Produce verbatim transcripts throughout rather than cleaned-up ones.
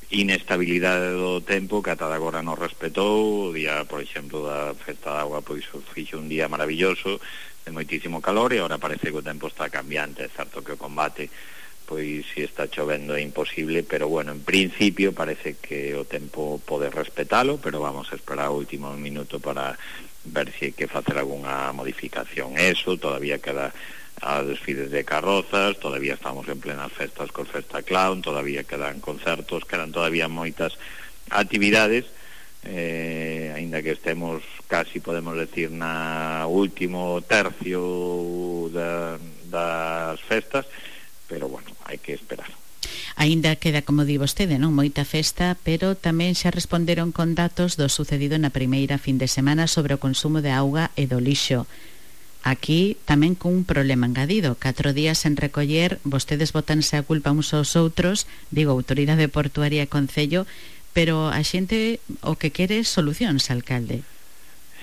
inestabilidade do tempo que ata agora non respetou. O día, por exemplo, da festa da auga, pois fixe un día maravilloso de moitísimo calor, e agora parece que o tempo está cambiante. É certo que o combate, pois se está chovendo é imposible, pero bueno, en principio parece que o tempo pode respetalo, pero vamos a esperar o último minuto para ver se hai que facer algunha modificación. Eso, todavía queda a desfiles de carrozas, todavía estamos en plenas festas con Festa Clown, todavía quedan concertos, quedan todavía moitas actividades, eh, aínda que estemos casi, podemos decir, na último tercio da, das festas, pero bueno, hai que esperar. Aínda queda, como di vostede, non moita festa, pero tamén xa responderon con datos do sucedido na primeira fin de semana sobre o consumo de auga e do lixo. Aquí tamén con un problema engadido, catro días en recoller, vostedes botanse a culpa uns aos outros, digo, Autoridade Portuaria e Concello, pero a xente o que quere solucións, alcalde.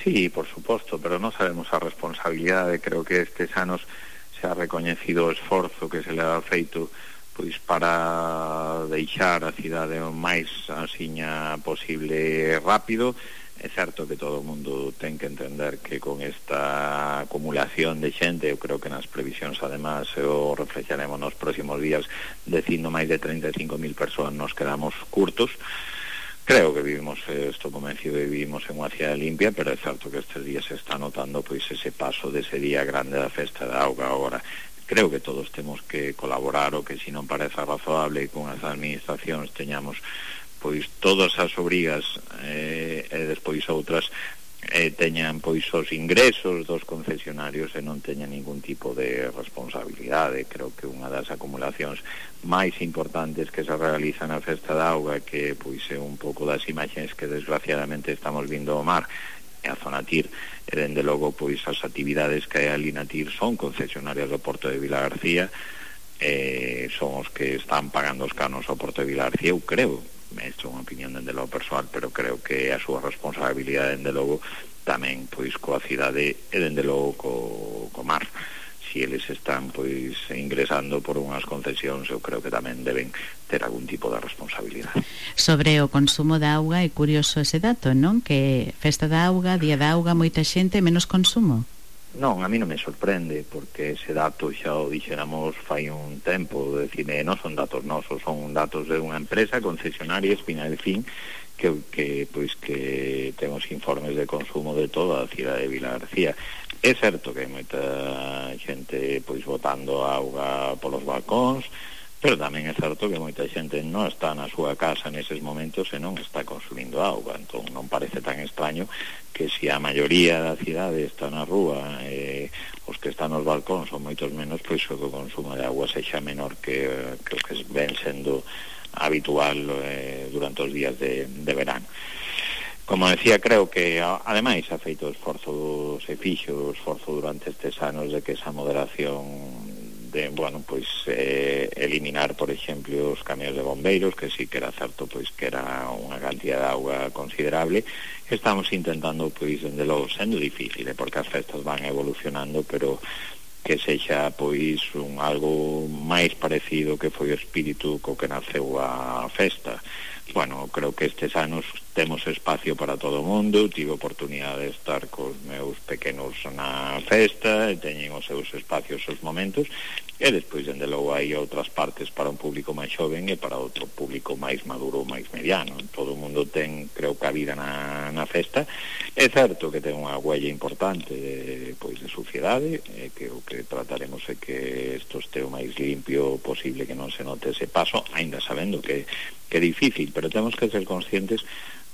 Sí, por suposto, pero non sabemos a responsabilidade. Creo que estes anos se ha recoñecido o esforzo que se le ha feito pois para deixar a cidade o máis asiña posible rápido. É certo que todo o mundo ten que entender que con esta acumulación de xente, eu creo que nas previsións además o reflexaremos nos próximos días, dicindo máis de treinta e cinco mil persoas nos quedamos curtos. Creo que vivimos, estou convencido de que vivimos en unha cidade limpia, pero é certo que estes días se está notando pois ese paso dese día grande da festa da auga. Agora, creo que todos temos que colaborar, o que se non parece razoable con as administracións teñamos pois todas as obrigas eh, e despois outras eh, teñan pois os ingresos dos concesionarios e non teñan ningún tipo de responsabilidade. Creo que unha das acumulacións máis importantes que se realiza na festa da auga, que pois é un pouco das imaxes que desgraciadamente estamos vindo ao mar e a zona Tir, e dende logo pois as actividades que hai ali na Tir son concesionarias do Porto de Vilagarcía, eh, son os que están pagando os canos ao Porto de Vilagarcía. Eu creo, isto é unha opinión dende logo persoal, pero creo que a súa responsabilidade dende logo tamén pois coa cidade e dende logo co, co mar. Si eles están pois ingresando por unhas concesións, eu creo que tamén deben ter algún tipo de responsabilidade. Sobre o consumo da auga, é curioso ese dato, non? Que festa da auga, día da auga, moita xente, menos consumo. Non, a mí non me sorprende, porque ese dato xa o dixéramos fai un tempo. Decir, non son datos nosos, son datos de unha empresa concesionaria, Espina del Fin, que, que, pois, que temos informes de consumo de toda a cidade de Vilagarcía. É certo que hai moita xente pois botando auga polos balcóns, pero tamén é certo que moita xente non está na súa casa neses momentos e non está consumindo auga. Entón non parece tan extraño que se a maioría da cidade está na rúa e os que están nos balcóns son moitos menos, pois o consumo de auga sexa menor que, que o que ven sendo habitual eh, durante os días de, de verano. Como decía, creo que ademais ha feito esforzo, se fixo esforzo durante estes anos de que esa moderación de, bueno, pois eh, eliminar, por exemplo, os camións de bombeiros, que sí que era certo pois que era unha cantidad de auga considerable. Estamos intentando, pois, dende logo, sendo difícil, porque as festas van evolucionando, pero que sexa, pois, un algo máis parecido que foi o espírito co que naceu a festa. Bueno, creo que estes anos temos espacio para todo o mundo. Tive oportunidade de estar cos meus pequenos na festa e teñen os seus espacios, os momentos, e despois, dende logo, hai outras partes para un público máis xoven e para outro público máis maduro, máis mediano. Todo o mundo ten, creo, cabida na, na festa. É certo que ten unha huella importante de, pois, de suciedade, e que o que trataremos é que isto este o máis limpio posible, que non se note ese paso, aínda sabendo que que é difícil, pero temos que ser conscientes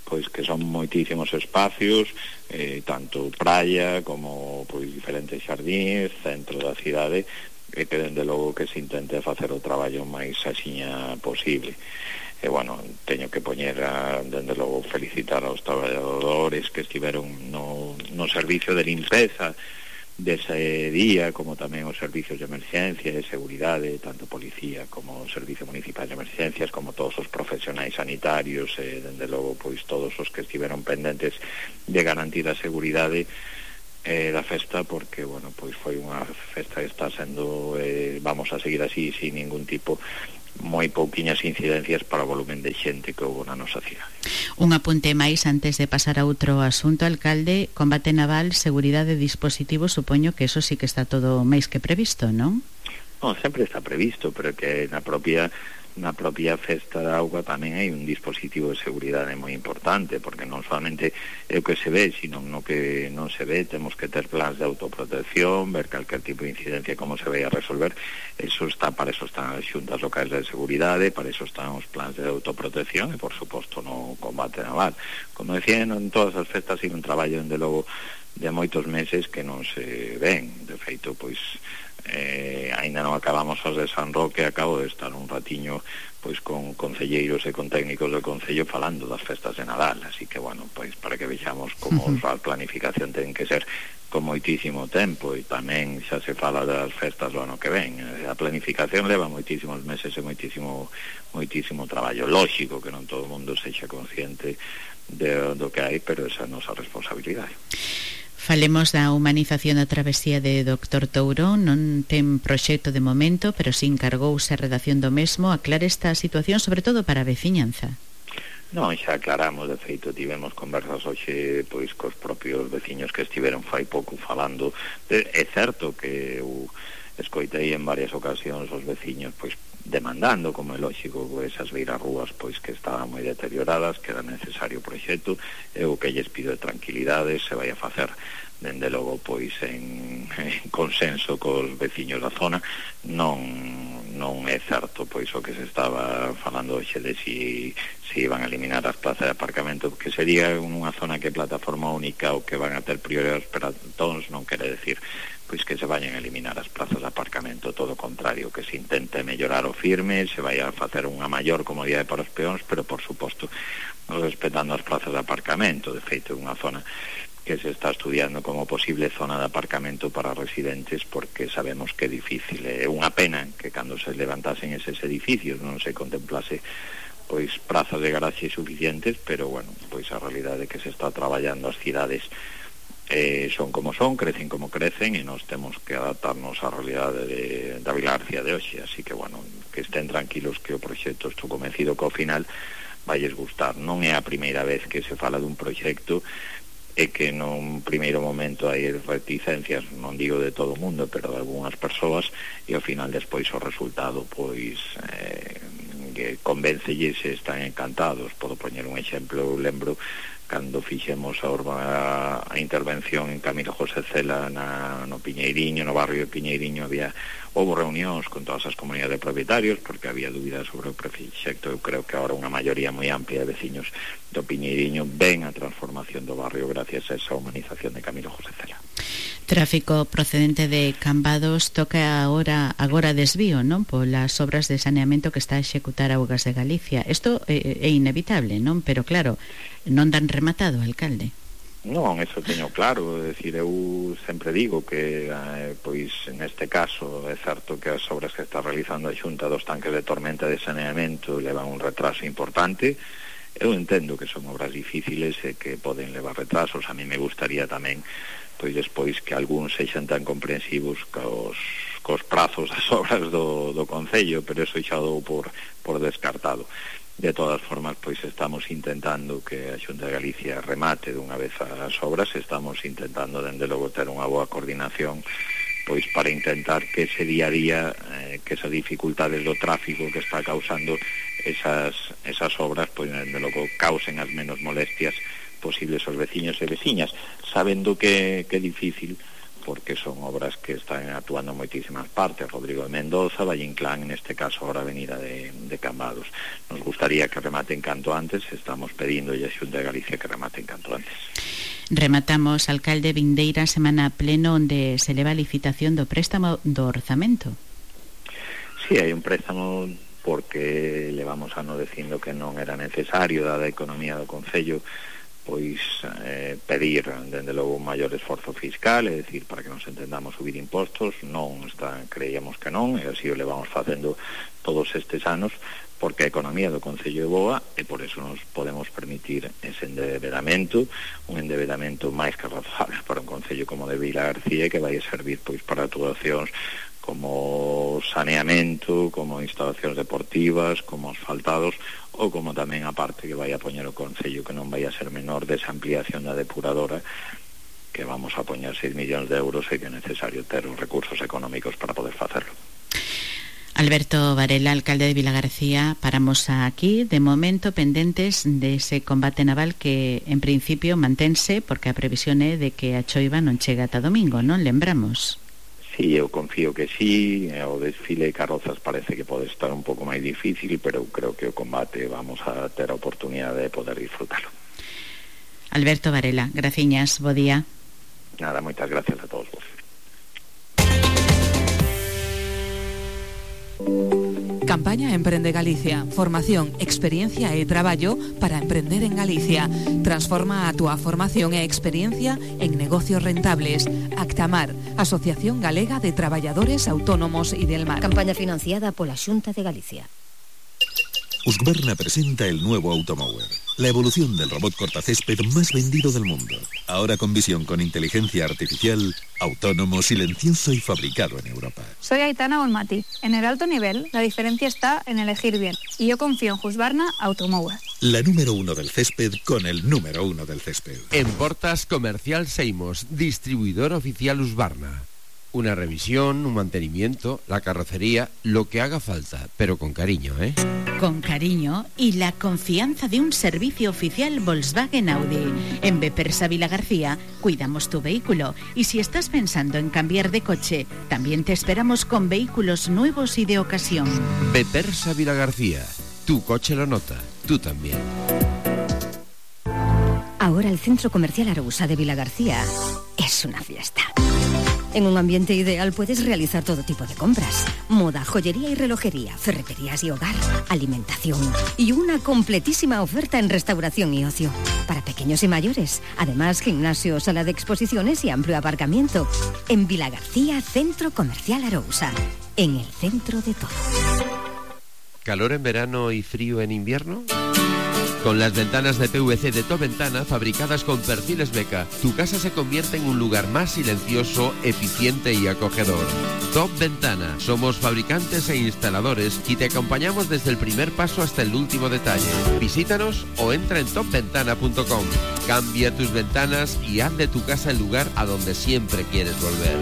pois que son moitísimos espacios, eh, tanto praia como pois diferentes xardíns, centro da cidade, e que dende logo que se intente facer o traballo máis axiña posible. E bueno, teño que poñer a, dende logo, felicitar aos traballadores que estiveron no, no servicio de limpeza dese día, como tamén os servicios de emerxencia e de seguridade, tanto policía como o Servicio Municipal de Emerxencias, como todos os profesionais sanitarios, e dende logo pois todos os que estiveron pendentes de garantir a seguridade eh, da festa, porque bueno, pois foi unha festa que está sendo, eh, vamos a seguir así sin ningún tipo moi pouquiñas incidencias para o volumen de xente que houve na nosa cidade. Un apunte máis antes de pasar a outro asunto, alcalde. Combate naval, seguridade de dispositivos, supoño que eso sí que está todo máis que previsto, non? Non, sempre está previsto, pero que na propia na propia festa da auga tamén hai un dispositivo de seguridade moi importante, porque non solamente é o que se ve, sino no que non se ve, temos que ter plans de autoprotección, ver calquer tipo de incidencia como se vai a resolver. Eso está, para eso están as xuntas locais de seguridade, para eso están os plans de autoprotección e, por suposto, no combate naval. Como decía, en todas as festas hai un traballo, dende logo, de moitos meses que non se ven. De feito, pois, eh, ainda non acabamos as de San Roque, acabo de estar un ratiño pois con concelleiros e con técnicos do Concello falando das festas de Nadal, así que, bueno, pois para que vexamos como uh-huh. a planificación ten que ser con moitísimo tempo, e tamén xa se fala das festas do ano que ven. A planificación leva moitísimos meses e moitísimo moitísimo traballo. Lóxico que non todo o mundo sexa consciente de, do que hai, pero esa é a nosa responsabilidade. Falemos da humanización da travesía de doctor Touro. Non ten proxecto de momento, pero si encargouse a redacción do mesmo. Aclare esta situación, sobre todo para a veciñanza. Non, xa aclaramos, de feito tivemos conversas hoxe pois cos propios veciños que estiveron fai pouco falando. De, é certo que eu escoitei en varias ocasións os veciños pois demandando, como é lógico, esas beirarrúas pois que estaban moi deterioradas, que era necesario o proxecto. Eu o que lles pido de tranquilidade, se vai a facer dende logo pois en, en consenso cos veciños da zona. Non non é certo pois o que se estaba falando hoxe de si, si iban a eliminar as plazas de aparcamento, que sería unha zona que é plataforma única ou que van a ter prioridades para todos. Non quere decir pois que se vayan a eliminar as plazas de aparcamento, todo o contrario, que se intente mellorar o firme, se vai a facer unha maior comodidade para os peóns, pero por suposto respetando as plazas de aparcamento. De feito, é unha zona que se está estudiando como posible zona de aparcamento para residentes, porque sabemos que é difícil. É unha pena que cando se levantasen eses edificios non se contemplase pois prazas de garaxe suficientes, pero bueno, pois a realidade é que se está traballando, as cidades eh, son como son, crecen como crecen, e nos temos que adaptarnos á realidade de, da Vila García de hoxe. Así que, bueno, que estén tranquilos que o proxecto, estou convencido que ao final vailles gustar. Non é a primeira vez que se fala dun proxecto e que nun primeiro momento hai reticencias, non digo de todo o mundo, pero de algunhas persoas, e ao final despois o resultado pois eh, que convéncelles e están encantados. Podo poñer un exemplo. Eu lembro cando fixemos a, urba, a intervención en Camilo José Cela na, no Piñeiriño, no barrio de Piñeiriño, había houve reunións con todas as comunidades de propietarios porque había dúbidas sobre o proxecto. Eu creo que agora unha maioría moi amplia de veciños do Piñeiriño ven a transformación do barrio gracias a esa humanización de Camilo José Cela. Tráfico procedente de Cambados toca agora agora desvío, non? Polas obras de saneamento que está a executar Augas de Galicia. Isto é, é inevitable, non? Pero claro, non dan rematado, alcalde. Non, eso teño claro. É dicir, eu sempre digo que eh, pois neste caso é certo que as obras que está realizando a Xunta dos tanques de tormenta de saneamento levan un retraso importante. Eu entendo que son obras difíciles e que poden levar retrasos. A mí me gustaría tamén pois despois que algúns sexan tan comprensivos cos, cos prazos das obras do, do Concello, pero eso xa dou por, por descartado. De todas formas, pois estamos intentando que a Xunta de Galicia remate dunha vez as obras. Estamos intentando, dende logo, ter unha boa coordinación pois para intentar que ese día a día, eh, que esas dificultades do tráfico que está causando esas, esas obras, pois dende logo causen as menos molestias posibles aos veciños e veciñas, sabendo que, que é difícil porque son obras que están actuando en moitísimas partes. Rodrigo de Mendoza, Valle Inclán, neste caso ahora a avenida de, de Cambados. Nos gustaría que rematen canto antes, estamos pedindo a Xunta de Galicia que rematen canto antes. Rematamos, alcalde, vindeira semana pleno onde se leva a licitación do préstamo do orzamento. Si, sí, hai un préstamo porque levamos ano dicindo que non era necesario, dada a economía do Concello, pois eh, pedir dende logo un maior esforzo fiscal, é dicir, para que nos entendamos, subir impostos. Non está, creíamos que non, e así o levamos facendo todos estes anos, porque a economía do Concello é boa e por eso nos podemos permitir ese endeudamento, un endeudamento máis que razonable para un Concello como de Vila García, que vai servir pois para actuacións como saneamento, como instalacións deportivas, como asfaltados, ou como tamén a parte que vai a poñer o Concello, que non vai a ser menor, desa ampliación da depuradora, que vamos a poñer seis millóns de euros e que é necesario ter os recursos económicos para poder facerlo. Alberto Varela, alcalde de Vilagarcía, paramos aquí, de momento pendentes dese combate naval que en principio mantense, porque a previsión é de que a choiva non chega ata domingo, non lembramos? Sí, eu confío que sí, o desfile de carrozas parece que pode estar un pouco máis difícil, pero eu creo que o combate vamos a ter a oportunidade de poder disfrutarlo. Alberto Varela, graciñas, bo día. Nada, moitas gracias a todos vos. Campaña Emprende Galicia. Formación, experiencia e traballo para emprender en Galicia. Transforma a túa formación e experiencia en negocios rentables. Actamar, Asociación Galega de Traballadores Autónomos y del Mar. Campaña financiada pola Xunta de Galicia. Husqvarna presenta el nuevo Automower, la evolución del robot cortacésped más vendido del mundo. Ahora con visión con inteligencia artificial, autónomo, silencioso y fabricado en Europa. Soy Aitana Olmati. En el alto nivel, la diferencia está en elegir bien. Y yo confío en Husqvarna Automower. La número uno del césped con el número uno del césped. En Portas Comercial Seimos, distribuidor oficial Husqvarna. Una revisión, un mantenimiento, la carrocería, lo que haga falta, pero con cariño, ¿eh? Con cariño y la confianza de un servicio oficial Volkswagen Audi. En Bepersa Vilagarcía cuidamos tu vehículo y si estás pensando en cambiar de coche, también te esperamos con vehículos nuevos y de ocasión. Bepersa Vilagarcía, tu coche lo nota, tú también. Ahora el Centro Comercial Arousa de Vilagarcía es una fiesta. En un ambiente ideal puedes realizar todo tipo de compras. Moda, joyería y relojería, ferreterías y hogar, alimentación y una completísima oferta en restauración y ocio. Para pequeños y mayores. Además, gimnasio, sala de exposiciones y amplio aparcamiento. En Vilagarcía, Centro Comercial Arousa. En el centro de todo. ¿Calor en verano y frío en invierno? Con las ventanas de P V C de Top Ventana fabricadas con perfiles Beca, tu casa se convierte en un lugar más silencioso, eficiente y acogedor. Top Ventana. Somos fabricantes e instaladores y te acompañamos desde el primer paso hasta el último detalle. Visítanos o entra en top ventana punto com. Cambia tus ventanas y haz de tu casa el lugar a donde siempre quieres volver.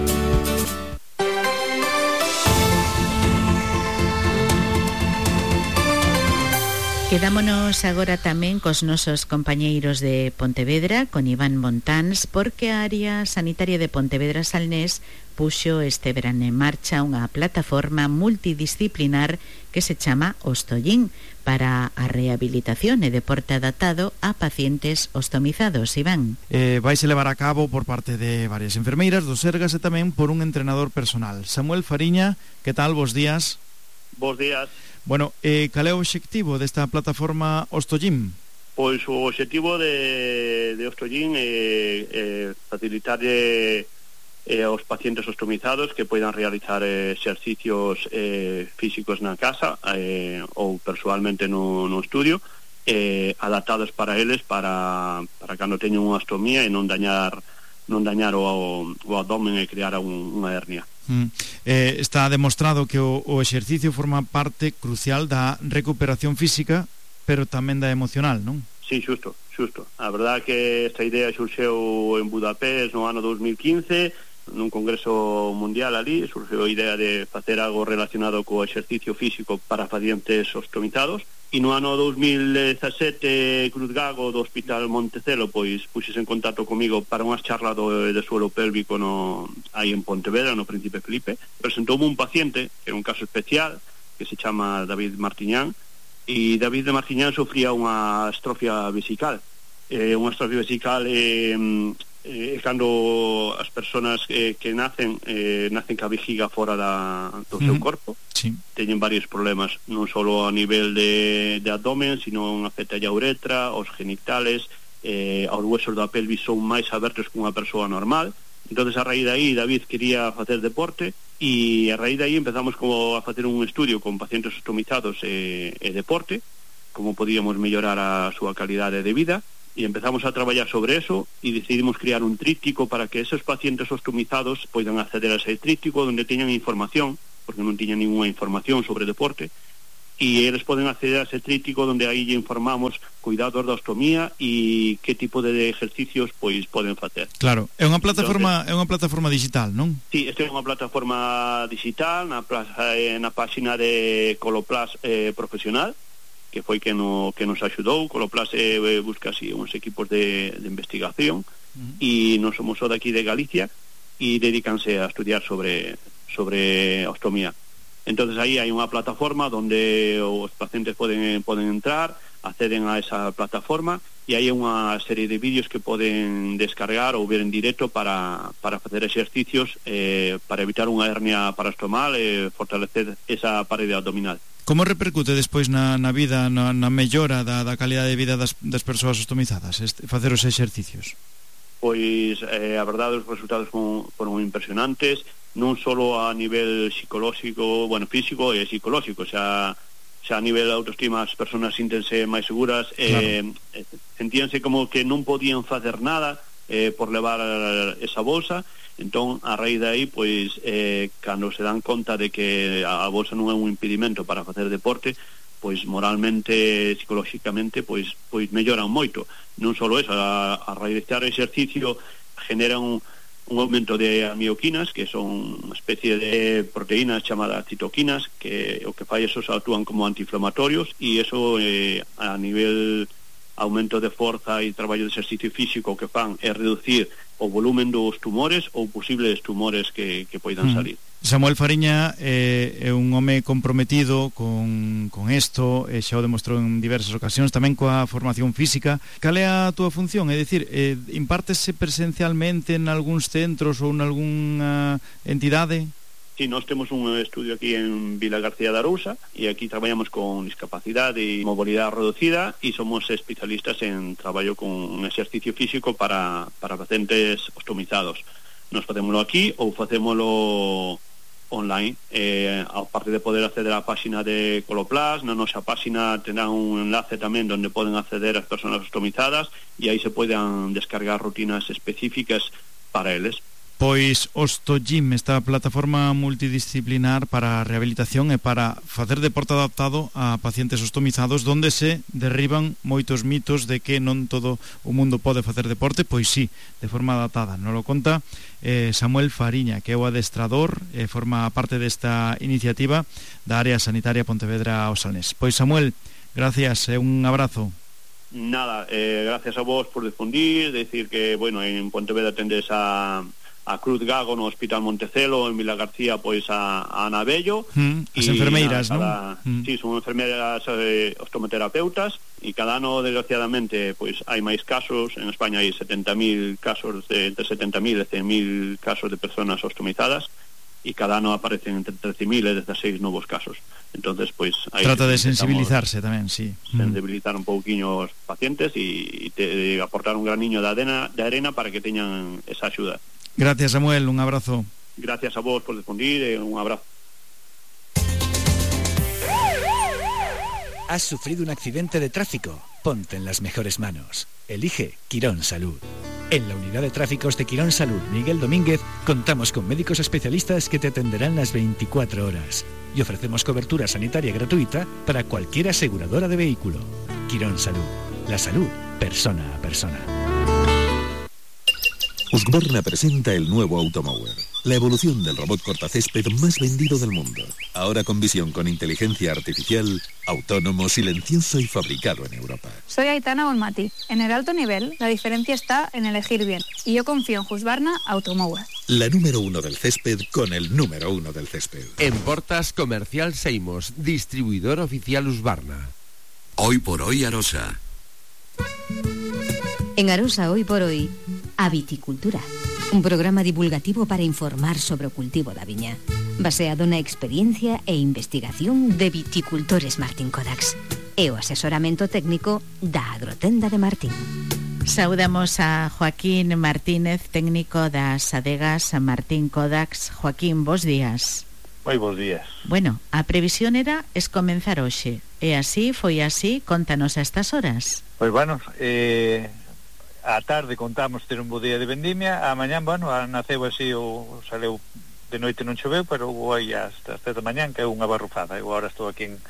Quedámonos agora tamén cos nosos compañeiros de Pontevedra, con Iván Montáns, porque a área sanitaria de Pontevedra Salnés puxo este verano en marcha unha plataforma multidisciplinar que se chama Ostollín para a rehabilitación e deporte adaptado a pacientes ostomizados. Iván. Eh, vaise levar a cabo por parte de varias enfermeiras do Sergas e tamén por un entrenador personal. Samuel Fariña, que tal? Bos días. Bos días. Bueno, eh, cal é o obxectivo desta plataforma Ostollín? Pois o obxectivo de, de Ostollín é, é facilitarlle eh, aos pacientes ostomizados que poidan realizar eh, exercicios eh, físicos na casa eh, ou persoalmente no, no estudio eh, adaptados para eles para, para cando teñen unha ostomía e non dañar non dañar o, o abdomen e crear un, unha hernia. Mm. Eh, está demostrado que o, o exercicio forma parte crucial da recuperación física, pero tamén da emocional, non? Sí, xusto, xusto. A verdade que esta idea xurxeu en Budapest no ano dos mil quince, nun congreso mundial ali, xurxeu a idea de facer algo relacionado co exercicio físico para pacientes ostomizados, e no ano dos mil dezasete Cruz Gago do Hospital Montecelo pois puxese en contacto comigo para unhas charlas do, de suelo pélvico no, aí en Pontevedra, no Príncipe Felipe. Presentoume un paciente, que era un caso especial, que se chama David Martiñán, e David de Martiñán sofría unha estrofia vesical. Eh, unha estrofia vesical é eh, eh, cando as persoas eh, que nacen eh, nacen ca vejiga fora da, do seu uh-huh. corpo. Sí. Teñen varios problemas, non só a nivel de, de abdomen, sino afecta a uretra, os genitales, eh, aos huesos da pelvis son máis abertos que unha persoa normal. Entonces a raíz de aí David quería facer deporte e a raíz de aí empezamos como a facer un estudio con pacientes ostomizados e, e deporte, como podíamos mellorar a súa calidade de vida. y empezamos a traballar sobre eso y decidimos crear un tríptico para que esos pacientes ostomizados puedan acceder a ese tríptico donde teñan información, porque non tiñan ninguna información sobre deporte, y eles poden acceder a ese tríptico donde aí lle informamos cuidados da ostomía e que tipo de ejercicios pois poden facer. Claro, é unha plataforma Entonces, é unha plataforma digital, non? Sí, esta é unha plataforma digital na, plaza, na páxina de Coloplast eh, Profesional, que foi que, no, que nos axudou. Coloplast eh, busca así uns equipos de, de investigación e uh-huh. non somos só daqui de Galicia e dedícanse a estudiar sobre, sobre ostomía. Entonces aí hai unha plataforma donde os pacientes poden, poden entrar, acceden a esa plataforma e hai unha serie de vídeos que poden descargar ou ver en directo para, para facer exercicios eh, para evitar unha hernia parastomal e eh, fortalecer esa parede abdominal. Como repercute despois na, na vida, na, na mellora da, da calidade de vida das, das persoas ostomizadas, este, facer os exercicios? Pois eh, a verdade os resultados foron, foron impresionantes, non só a nivel psicolóxico, bueno, físico e psicolóxico, xa, xa a nivel de autoestima as persoas síntense máis seguras, eh, claro. sentíanse como que non podían facer nada eh, por levar esa bolsa. Entón, a raíz de aí, pois, eh, cando se dan conta de que a bolsa non é un impedimento para facer deporte, pois moralmente, psicolóxicamente, pois, pois melloran moito. Non só eso, a, a raíz de estar exercicio generan un un aumento de amioquinas, que son unha especie de proteínas chamadas citoquinas, que o que fai esos actúan como antiinflamatorios, e eso eh, a nivel aumento de forza e traballo de exercicio físico que fan é reducir o volumen dos tumores ou posibles tumores que, que poidan salir. Samuel Fariña eh, é un home comprometido con, con isto, e xa o demostrou en diversas ocasións, tamén coa formación física. Cal é a túa función? É dicir, eh, impártese presencialmente en algúns centros ou en algunha entidade? Sí, nós temos un estudio aquí en Vilagarcía de Arousa e aquí traballamos con discapacidade e mobilidade reducida e somos especialistas en traballo con exercicio físico para, para pacientes ostomizados. Nos facémolo aquí ou facémolo online, eh, aparte de poder acceder á páxina de Coloplast, na nosa páxina terán un enlace tamén onde poden acceder as persoas ostomizadas e aí se poden descargar rutinas específicas para eles. Pois OstoGym, esta plataforma multidisciplinar para a rehabilitación e para facer deporte adaptado a pacientes ostomizados, donde se derriban moitos mitos de que non todo o mundo pode facer deporte. Pois sí, de forma adaptada. Nos lo conta eh, Samuel Fariña, que é o adestrador e eh, forma parte desta iniciativa da área sanitaria Pontevedra ao Salnés. Pois Samuel, gracias e un abrazo. Nada, eh, gracias a vos por difundir, decir que, bueno, en Pontevedra tendes a a Cruz Gago no Hospital Montecelo, en Vilagarcía pois a, a Ana Bello, mm, as enfermeiras, non? Mm. Sí, son enfermeiras eh, ostomoterapeutas e cada ano, desgraciadamente, pois hai máis casos. En España hai setenta mil casos, de, entre setenta mil e cen mil casos de persoas ostomizadas e cada ano aparecen entre trece mil e dezasseis novos casos. Entonces, pois aí trata de sensibilizarse tamén, sí. Sensibilizar un pouquiño os pacientes e, e te, aportar un graniño de arena, de arena para que teñan esa axuda. Gracias, Samuel, un abrazo. Gracias a vos por difundir e un abrazo. ¿Has sufrido un accidente de tráfico? Ponte en las mejores manos. Elige Quirón Salud. En la unidad de tráficos de Quirón Salud Miguel Domínguez contamos con médicos especialistas que te atenderán las veinticuatro horas y ofrecemos cobertura sanitaria gratuita para cualquier aseguradora de vehículo. Quirón Salud. La salud, persona a persona. Husqvarna presenta el nuevo Automower, la evolución del robot cortacésped más vendido del mundo. Ahora con visión con inteligencia artificial, autónomo, silencioso y fabricado en Europa. Soy Aitana Bonmati. En el alto nivel, la diferencia está en elegir bien. Y yo confío en Husqvarna Automower. La número uno del césped con el número uno del césped. En Portas Comercial Seimos, distribuidor oficial Husqvarna. Hoy por hoy Arosa. En Arosa Hoy por Hoy, a Viticultura, un programa divulgativo para informar sobre o cultivo da viña, baseado na experiencia e investigación de viticultores Martín Codax e o asesoramento técnico da Agrotenda de Martín. Saudamos a Joaquín Martínez, técnico das adegas Martín Codax. Joaquín, bos días. Moi bos días. Bueno, a previsión era es comenzar hoxe, e así foi así. Contanos a estas horas. Pois bueno, eh... a tarde contamos ter un bo día de vendimia, a mañán, bueno, naceu así, o saleu de noite non choveu, pero hoy hasta as sete da mañán que é unha barrufada. Eu agora estou aquí en,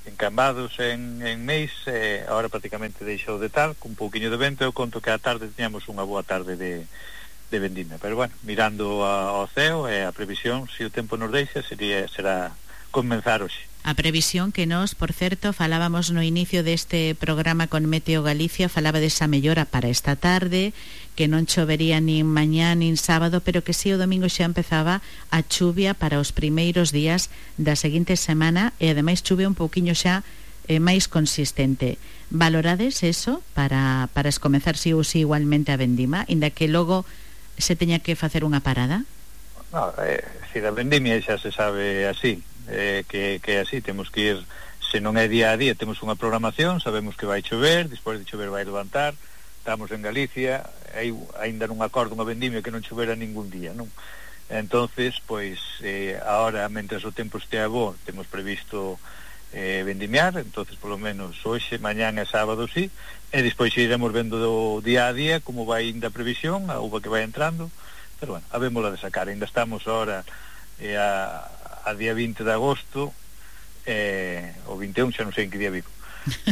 en Cambados, en, en Meis, eh, agora prácticamente deixou de tal, con un pouquiño de vento. Eu conto que a tarde teñamos unha boa tarde de, de vendimia, pero bueno, mirando a, ao ceo e a previsión, se o tempo nos deixa, sería, será comenzar hoxe. A previsión que nos, por certo, falábamos no inicio deste programa con Meteo Galicia, falaba desa mellora para esta tarde, que non chovería nin mañá nin sábado, pero que si o domingo xa empezaba a chuvia para os primeiros días da seguinte semana, e ademais chuvia un pouquiño xa eh, máis consistente. Valorades eso para, para escomezar si ou si igualmente a vendima, inda que logo se teña que facer unha parada? No, eh, si da vendimia xa se sabe así, eh, que, que así temos que ir, se non é día a día, temos unha programación, sabemos que vai chover, despois de chover vai levantar, estamos en Galicia, aí ainda non acordo unha vendimia que non chovera ningún día, non? Entonces, pois, eh, ahora, mentres o tempo estea bo, temos previsto eh, vendimiar, entonces, polo menos, hoxe, mañán e sábado, sí, e despois iremos vendo do día a día como vai ainda a previsión, a uva que vai entrando, pero bueno, habémola de sacar, ainda estamos ahora eh, a a día vinte de agosto, eh, o vinte e un, xa non sei en que día vivo,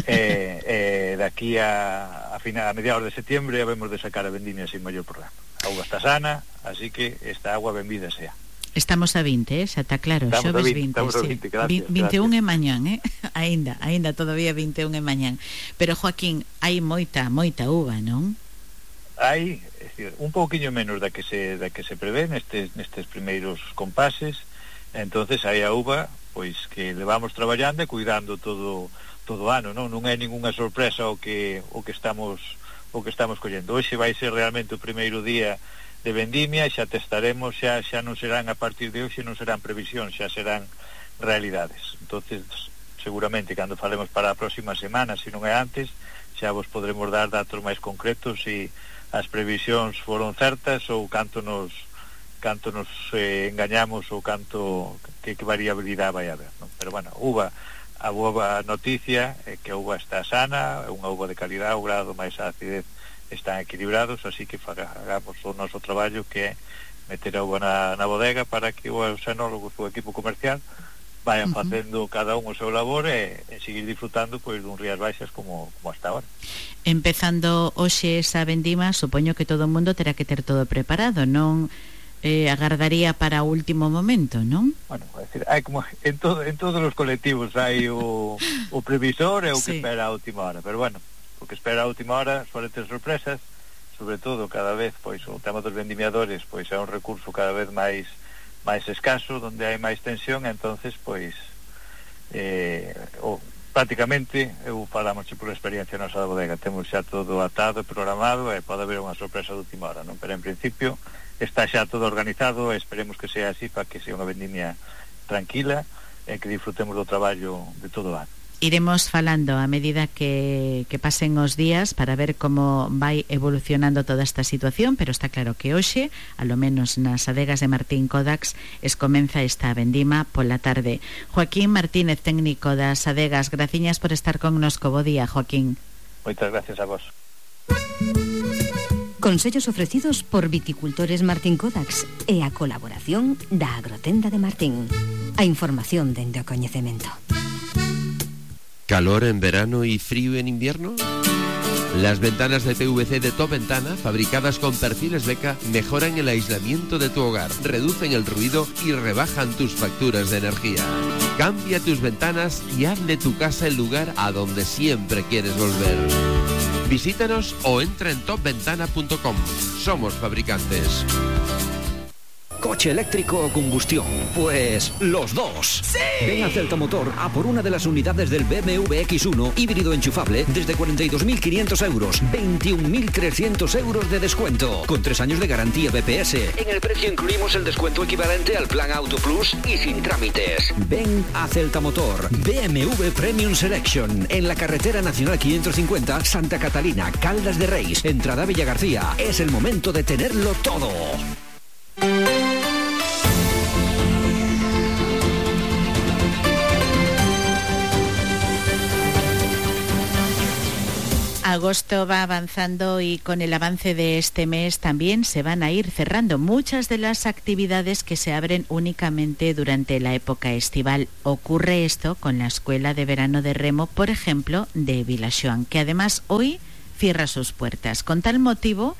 eh, eh, daqui a, a, final, a mediados de septiembre habemos de sacar a vendimia sin maior problema. A auga está sana, así que esta agua benvida sea. Estamos a vinte, eh? Xa está claro, estamos xoves vinte, vinte, estamos sí. a vinte, gracias, vinte e un gracias. é mañán, eh? Ainda, ainda todavía vinte e un é mañán. Pero, Joaquín, hai moita, moita uva, non? Hai, é dicir, un pouquiño menos da que se da que se prevé nestes nestes primeiros compases. Entonces hai a uva pois que levamos traballando e cuidando todo todo o ano, non non é ningunha sorpresa o que o que estamos o que estamos collendo. Hoxe vai ser realmente o primeiro día de vendimia, xa testaremos, xa xa non serán a partir de hoxe, non serán previsións, xa serán realidades. Entonces, seguramente cando falemos para a próxima semana, se non é antes, xa vos podremos dar datos máis concretos se as previsións foron certas ou canto nos canto nos eh, engañamos ou canto que, que variabilidade vai haber, non? Pero bueno, uva, a boa noticia é que a uva está sana, é unha uva de calidad, o grado máis a acidez están equilibrados, así que fagamos o noso traballo, que é meter a uva na, na bodega para que os enólogos, o equipo comercial, vayan uh-huh. facendo cada un o seu labor e, e seguir disfrutando pois dun Rías Baixas como, como hasta ahora. Empezando hoxe esa vendima, supoño que todo o mundo terá que ter todo preparado, non eh, agardaría para o último momento, non? Bueno, é dicir, hai como en, todo, en todos os colectivos hai o, o previsor e o que sí. espera a última hora, pero bueno, o que espera a última hora suele ter sorpresas, sobre todo cada vez, pois o tema dos vendimiadores pois é un recurso cada vez máis máis escaso, donde hai máis tensión, entonces pois eh, o, prácticamente eu falamos por experiencia nosa da bodega, temos xa todo atado e programado e pode haber unha sorpresa de última hora, non? Pero en principio está xa todo organizado e esperemos que sea así para que sea unha vendimia tranquila e que disfrutemos do traballo de todo o ano. Iremos falando a medida que, que pasen os días para ver como vai evolucionando toda esta situación, pero está claro que hoxe, a lo menos nas adegas de Martín Codax, es comeza esta vendima pola tarde. Joaquín Martínez, técnico das adegas, graciñas por estar connosco. Bo día, Joaquín. Moitas gracias a vos. Consellos ofrecidos por Viticultores Martín Codax e a colaboración da Agrotenda de Martín. A información dende o coñecemento. ¿Calor en verano y frío en invierno? Las ventanas de P V C de Top Ventana, fabricadas con perfiles Beca, mejoran el aislamiento de tu hogar, reducen el ruido y rebajan tus facturas de energía. Cambia tus ventanas y haz de tu casa el lugar a donde siempre quieres volver. Visítanos o entra en top ventana punto com. Somos fabricantes. ¿Coche eléctrico o combustión? Pues los dos. ¡Sí! Ven a Celta Motor a por una de las unidades del B M W X uno híbrido enchufable desde cuarenta y dos mil quinientos euros, veintiún mil trescientos euros de descuento, con tres años de garantía B P S. En el precio incluimos el descuento equivalente al plan Auto Plus y sin trámites. Ven a Celta Motor, B M W Premium Selection, en la carretera nacional quinientos cincuenta, Santa Catalina, Caldas de Reis, entrada Villa García. Es el momento de tenerlo todo. Agosto va avanzando y con el avance de este mes también se van a ir cerrando muchas de las actividades que se abren únicamente durante la época estival. Ocurre esto con la Escuela de Verano de Remo, por ejemplo, de Vilaxoán, que además hoy cierra sus puertas. Con tal motivo,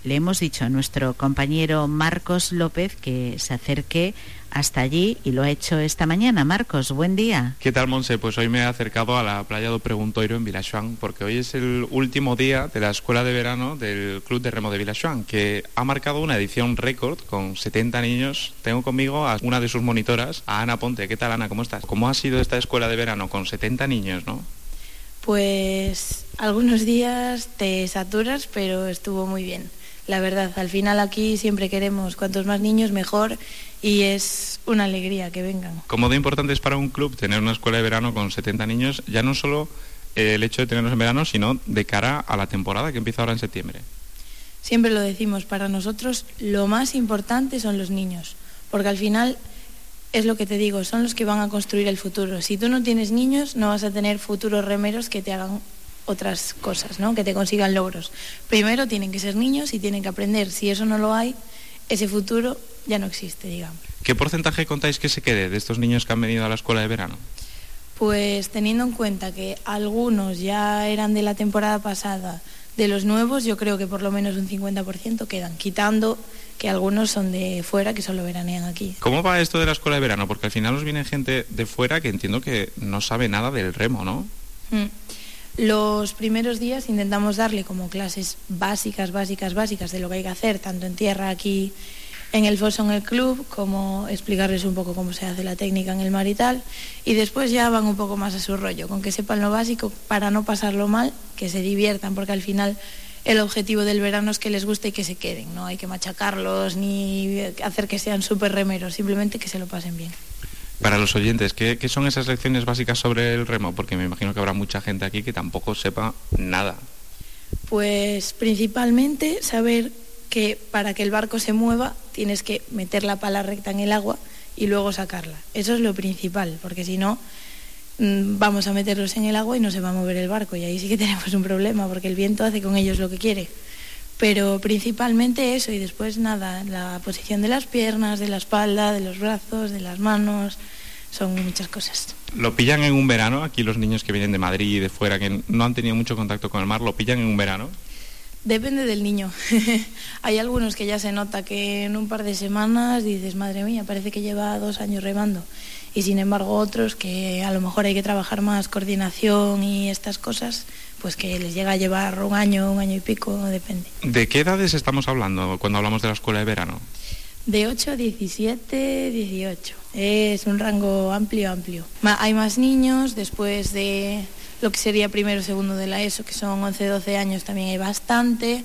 le hemos dicho a nuestro compañero Marcos López que se acerque hasta allí y lo ha hecho esta mañana. Marcos, buen día. ¿Qué tal, Monse? Pues hoy me he acercado a la playa do Preguntoiro en Vilaxoán porque hoy es el último día de la Escuela de Verano del Club de Remo de Vilaxoán, que ha marcado una edición récord con setenta niños. Tengo conmigo a una de sus monitoras, a Ana Ponte. ¿Qué tal, Ana? ¿Cómo estás? ¿Cómo ha sido esta Escuela de Verano con setenta niños, no? Pues algunos días te saturas, pero estuvo muy bien. La verdad, al final aquí siempre queremos cuantos más niños mejor y es una alegría que vengan. ¿Cómo de importante es para un club tener una escuela de verano con setenta niños? Ya no solo el hecho de tenerlos en verano, sino de cara a la temporada que empieza ahora en septiembre. Siempre lo decimos, para nosotros lo más importante son los niños, porque al final es lo que te digo, son los que van a construir el futuro. Si tú no tienes niños, no vas a tener futuros remeros que te hagan otras cosas, ¿no? Que te consigan logros. Primero tienen que ser niños y tienen que aprender. Si eso no lo hay, ese futuro ya no existe, digamos. ¿Qué porcentaje contáis que se quede de estos niños que han venido a la escuela de verano? Pues teniendo en cuenta que algunos ya eran de la temporada pasada, de los nuevos, yo creo que por lo menos un cincuenta por ciento quedan, quitando que algunos son de fuera que solo veranean aquí. ¿Cómo va esto de la escuela de verano? Porque al final os viene gente de fuera que entiendo que no sabe nada del remo, ¿no? Mm. Los primeros días intentamos darle como clases básicas, básicas, básicas de lo que hay que hacer, tanto en tierra aquí en el foso, en el club, como explicarles un poco cómo se hace la técnica en el mar y tal, y después ya van un poco más a su rollo, con que sepan lo básico para no pasarlo mal, que se diviertan, porque al final el objetivo del verano es que les guste y que se queden, no hay que machacarlos ni hacer que sean súper remeros, simplemente que se lo pasen bien. Para los oyentes, ¿qué, ¿qué son esas lecciones básicas sobre el remo? Porque me imagino que habrá mucha gente aquí que tampoco sepa nada. Pues principalmente saber que para que el barco se mueva tienes que meter la pala recta en el agua y luego sacarla. Eso es lo principal, porque si no vamos a meterlos en el agua y no se va a mover el barco y ahí sí que tenemos un problema porque el viento hace con ellos lo que quiere. Pero principalmente eso y después nada, la posición de las piernas, de la espalda, de los brazos, de las manos, son muchas cosas. ¿Lo pillan en un verano? Aquí los niños que vienen de Madrid y de fuera, que no han tenido mucho contacto con el mar, ¿lo pillan en un verano? Depende del niño. Hay algunos que ya se nota que en un par de semanas dices, madre mía, parece que lleva dos años remando. Y sin embargo otros que a lo mejor hay que trabajar más coordinación y estas cosas, pues que les llega a llevar un año, un año y pico, depende. ¿De qué edades estamos hablando cuando hablamos de la escuela de verano? De ocho a diecisiete, dieciocho. Es un rango amplio, amplio. Hay más niños, después de lo que sería primero o segundo de la ESO, que son once, doce años, también hay bastante,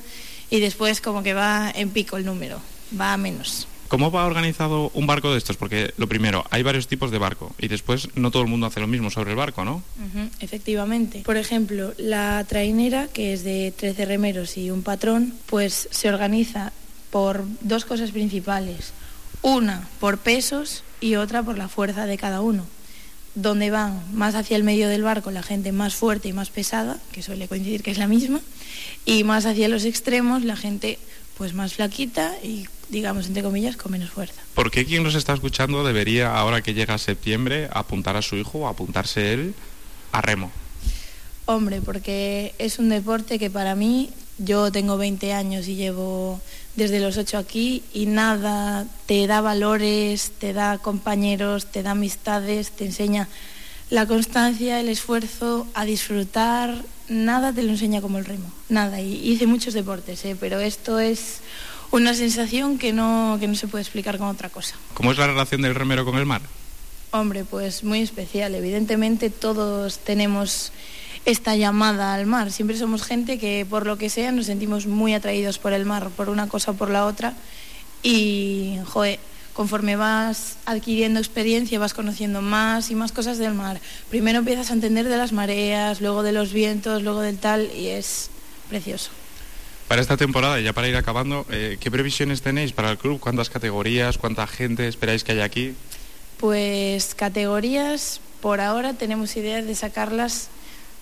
y después como que va en pico el número, va a menos. ¿Cómo va organizado un barco de estos? Porque lo primero, hay varios tipos de barco y después no todo el mundo hace lo mismo sobre el barco, ¿no? Uh-huh, efectivamente. Por ejemplo, la trainera, que es de trece remeros y un patrón, pues se organiza por dos cosas principales. Una por pesos y otra por la fuerza de cada uno. Donde van más hacia el medio del barco la gente más fuerte y más pesada, que suele coincidir que es la misma, y más hacia los extremos la gente pues más flaquita y, digamos, entre comillas, con menos fuerza. ¿Por qué quien nos está escuchando debería, ahora que llega septiembre, apuntar a su hijo o apuntarse él a remo? Hombre, porque es un deporte que para mí, yo tengo veinte años y llevo desde los ocho aquí y nada te da valores, te da compañeros, te da amistades, te enseña la constancia, el esfuerzo, a disfrutar, nada te lo enseña como el remo, nada. Y hice muchos deportes, ¿eh? Pero esto es una sensación que no, que no se puede explicar con otra cosa. ¿Cómo es la relación del remero con el mar? Hombre, pues muy especial. Evidentemente todos tenemos esta llamada al mar. Siempre somos gente que por lo que sea nos sentimos muy atraídos por el mar, por una cosa o por la otra. Y, joder, conforme vas adquiriendo experiencia vas conociendo más y más cosas del mar. Primero empiezas a entender de las mareas, luego de los vientos, luego del tal, y es precioso. Para esta temporada, ya para ir acabando, eh, ¿qué previsiones tenéis para el club? ¿Cuántas categorías? ¿Cuánta gente esperáis que haya aquí? Pues categorías, por ahora tenemos ideas de sacarlas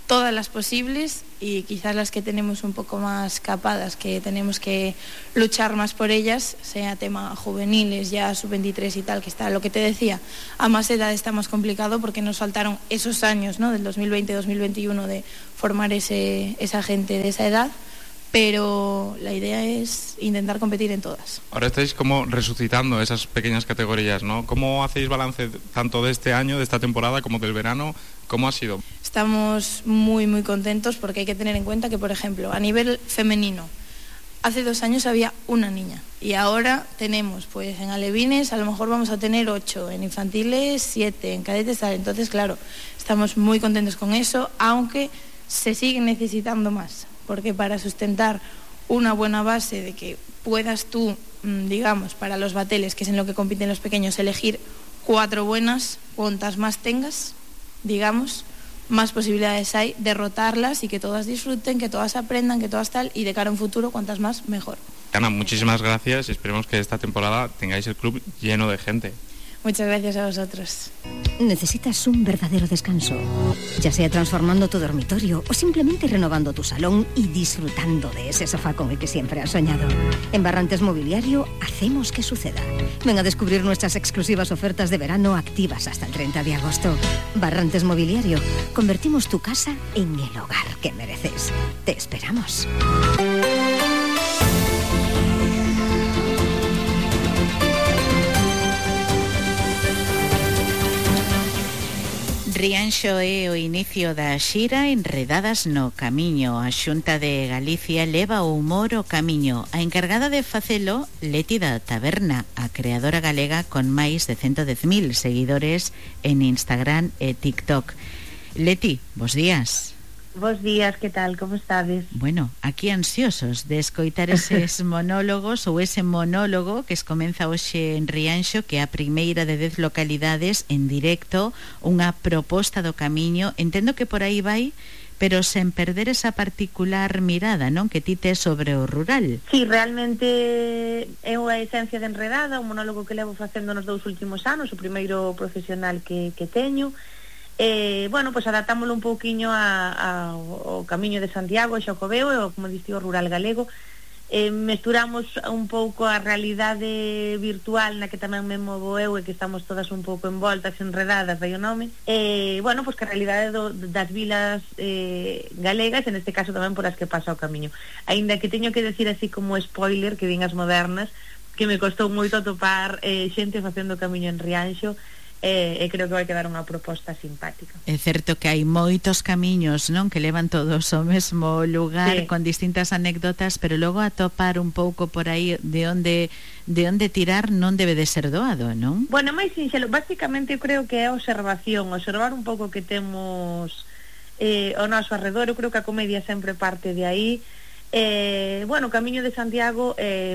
todas las posibles y quizás las que tenemos un poco más capadas, que tenemos que luchar más por ellas, sea tema juveniles, ya sub veintitrés y tal, que está, lo que te decía, a más edad está más complicado porque nos faltaron esos años, ¿no?, del dos mil veinte dos mil veintiuno de formar ese, esa gente de esa edad, pero la idea es intentar competir en todas. Ahora estáis como resucitando esas pequeñas categorías, ¿no? ¿Cómo hacéis balance tanto de este año, de esta temporada, como del verano? ¿Cómo ha sido? Estamos muy, muy contentos porque hay que tener en cuenta que, por ejemplo, a nivel femenino, hace dos años había una niña y ahora tenemos, pues en alevines a lo mejor vamos a tener ocho, en infantiles siete, en cadetes tal. Entonces, claro, estamos muy contentos con eso, aunque se siguen necesitando más, porque para sustentar una buena base de que puedas tú, digamos, para los bateles, que es en lo que compiten los pequeños, elegir cuatro buenas, cuantas más tengas, digamos, más posibilidades hay de rotarlas y que todas disfruten, que todas aprendan, que todas tal, y de cara a un futuro, cuantas más, mejor. Ana, muchísimas gracias y esperemos que esta temporada tengáis el club lleno de gente. Muchas gracias a vosotros. Necesitas un verdadero descanso, ya sea transformando tu dormitorio o simplemente renovando tu salón y disfrutando de ese sofá con el que siempre has soñado. En Barrantes Mobiliario hacemos que suceda. Ven a descubrir nuestras exclusivas ofertas de verano activas hasta el treinta de agosto. Barrantes Mobiliario, convertimos tu casa en el hogar que mereces. Te esperamos. Rianxo é o inicio da xira Enredadas no Camiño. A Xunta de Galicia leva o humor ao camiño. A encargada de facelo, Leti da Taberna, a creadora galega con máis de ciento dez mil seguidores en Instagram e TikTok. Leti, bos días. Bos días, que tal, como estades? Bueno, aquí ansiosos de escoitar eses monólogos ou ese monólogo que es comeza hoxe en Rianxo, que é a primeira de dez localidades en directo, unha proposta do camiño. Entendo que por aí vai, pero sen perder esa particular mirada, non, que ti tes sobre o rural. Sí, realmente é unha esencia de Enredada, un monólogo que levo facendo nos dous últimos anos, o primeiro profesional que, que teño. Eh, bueno, pois pues adaptámoslo un pouquiño a, a, ao Camiño de Santiago, Xacobeo, e o, como diste, o rural galego. Eh, mesturamos un pouco a realidade virtual na que tamén me movo eu e que estamos todas un pouco envoltas, enredadas, vai o nome. Eh, bueno, pois pues que a realidade do, das vilas eh, galegas, en este caso tamén por as que pasa o Camiño. Aínda que teño que decir así como spoiler, que din as modernas, que me costou moito atopar eh, xente facendo o Camiño en Rianxo, e eh, creo que vai quedar unha proposta simpática. É certo que hai moitos camiños, non, que levan todos ao mesmo lugar, sí, con distintas anécdotas, pero logo atopar un pouco por aí de onde de onde tirar non debe de ser doado, non? Bueno, máis sinxelo, basicamente eu creo que é observación, observar un pouco que temos eh, ao noso arredor. Eu creo que a comedia sempre parte de aí. Eh, bueno, o Camiño de Santiago, eh,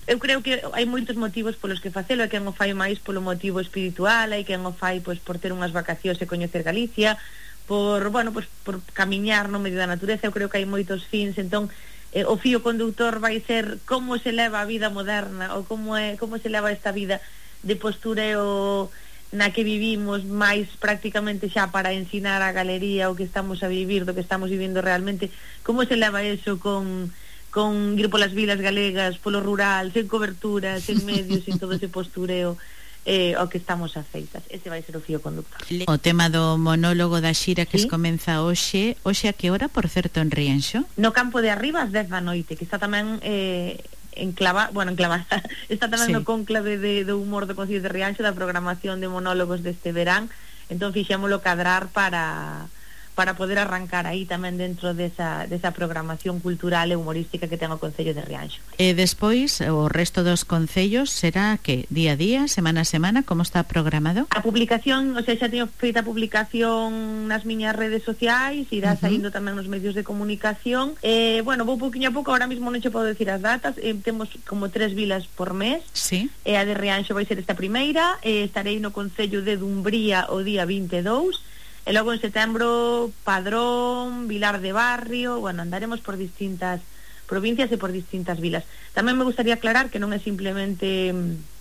eu creo que hai moitos motivos polos que facelo. Hai quen o fai máis polo motivo espiritual, hai quen o fai pois por ter unhas vacacións e coñecer Galicia, por, bueno, pois por camiñar no medio da natureza. Eu creo que hai moitos fins, entón eh, o fío conductor vai ser como se leva a vida moderna, ou como é como se leva esta vida de postureo na que vivimos, máis prácticamente xa para ensinar a galería o que estamos a vivir, do que estamos vivindo realmente. Como se leva eso con, con ir polas vilas galegas, polo rural, sen cobertura, sen medios, sen todo ese postureo eh, ao que estamos afeitas. Ese vai ser o fío conductor. O tema do monólogo da xira que ¿Sí? se comeza hoxe, hoxe a que hora, por certo, en Rianxo? No campo de arriba ás dez da noite, que está tamén eh, enclava, bueno, enclavada, está tamén sí. no conclave de, de humor do Concello de Rianxo, da programación de monólogos deste verán. Entón fixémolo cadrar para para poder arrancar aí tamén dentro desa, desa programación cultural e humorística que ten o Concello de Rianxo. E despois, o resto dos concellos será que día a día, semana a semana, como está programado? A publicación, o sea, xa teño feita a publicación nas miñas redes sociais, irá uh-huh. saindo tamén nos medios de comunicación. Eh, bueno, vou pouquinho a pouco, ahora mesmo non che podo decir as datas, eh, temos como tres vilas por mes, sí. e a de Rianxo vai ser esta primeira, eh, estarei no Concello de Dumbría o día vinte e dous, e logo en setembro Padrón, Vilar de Barrio. Bueno, andaremos por distintas provincias e por distintas vilas. Tamén me gustaría aclarar que non é simplemente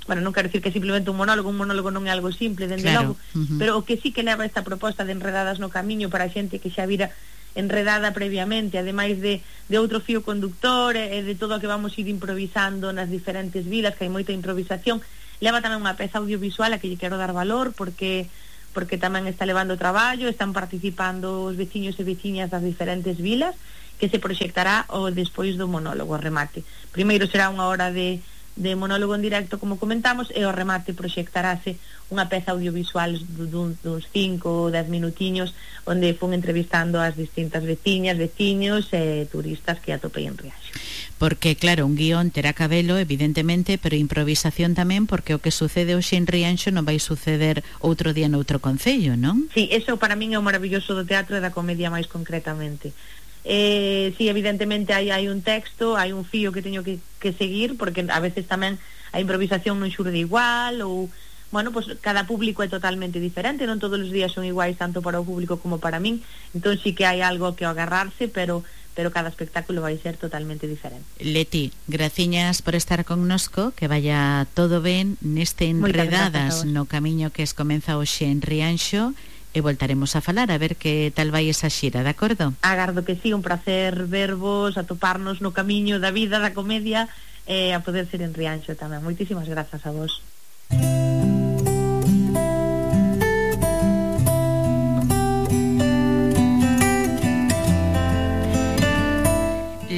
bueno, non quero dicir que é simplemente un monólogo, un monólogo non é algo simple, dende Claro. logo, Uh-huh. pero o que sí que leva esta proposta de Enredadas no Camiño para a xente que xa vira enredada previamente, ademais de, de outro fío conductor e de todo o que vamos ir improvisando nas diferentes vilas, que hai moita improvisación, leva tamén unha peza audiovisual a que lle quero dar valor, porque porque tamén está levando traballo, están participando os veciños e veciñas das diferentes vilas, que se proxectará o despois do monólogo, o remate. Primeiro será unha hora de, de monólogo en directo, como comentamos, e o remate proxectarase unha peza audiovisual dun, duns cinco ou dez minutiños, onde fun entrevistando as distintas veciñas, veciños e turistas que atopei en Rianxo. Porque, claro, un guión terá cabelo, evidentemente, pero improvisación tamén, porque o que sucede hoxe en Rianxo non vai suceder outro día noutro concello, non? Sí, eso para min é o maravilloso do teatro e da comedia máis concretamente. Eh, sí, evidentemente hai, hai un texto, hai un fío que teño que, que seguir, porque a veces tamén a improvisación non xurde igual, ou, bueno, pues cada público é totalmente diferente, non todos os días son iguais tanto para o público como para min, entón sí que hai algo que agarrarse, pero pero cada espectáculo vai ser totalmente diferente. Leti, graciñas por estar connosco, que vaya todo ben neste Enredadas no Camiño que es comeza hoxe en Rianxo, e voltaremos a falar a ver que tal vai esa xira, de acordo? Agardo que sí, un placer vervos, atoparnos no camiño da vida, da comedia, e a poder ser en Rianxo tamén. Moitísimas grazas a vos.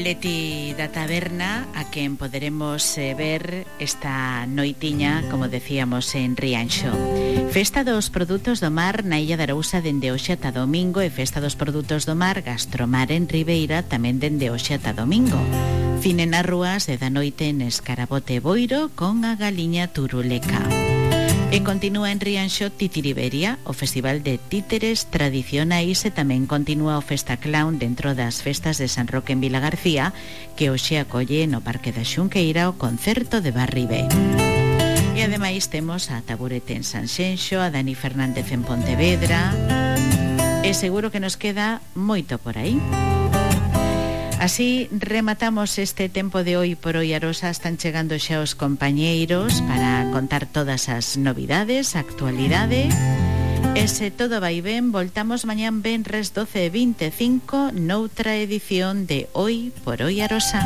Leti da Taberna, a quen poderemos eh, ver esta noitiña, como decíamos, en Rianxo. Festa dos produtos do mar na Illa de Arousa dende hoxe ata domingo, e Festa dos produtos do mar Gastromar en Ribeira tamén dende hoxe ata domingo. Cine nas rúas e da noite en Escarabote Boiro con a Galiña Turuleca. E continúa en Rianxo Titiriberia, o festival de títeres tradicionais, e tamén continúa o Festa Clown dentro das festas de San Roque en Vilagarcía, que hoxe acolle no Parque da Xunqueira o concerto de Barribé. E ademais temos a Taburete en Sanxenxo, a Dani Fernández en Pontevedra, e seguro que nos queda moito por aí. Así rematamos este tempo de hoy por hoy, Arosa. Están chegando xa os compañeiros para contar todas as novidades, actualidade. E se todo vai ben, voltamos mañán venres doce e vinte e cinco noutra edición de Hoy por Hoy, Arosa.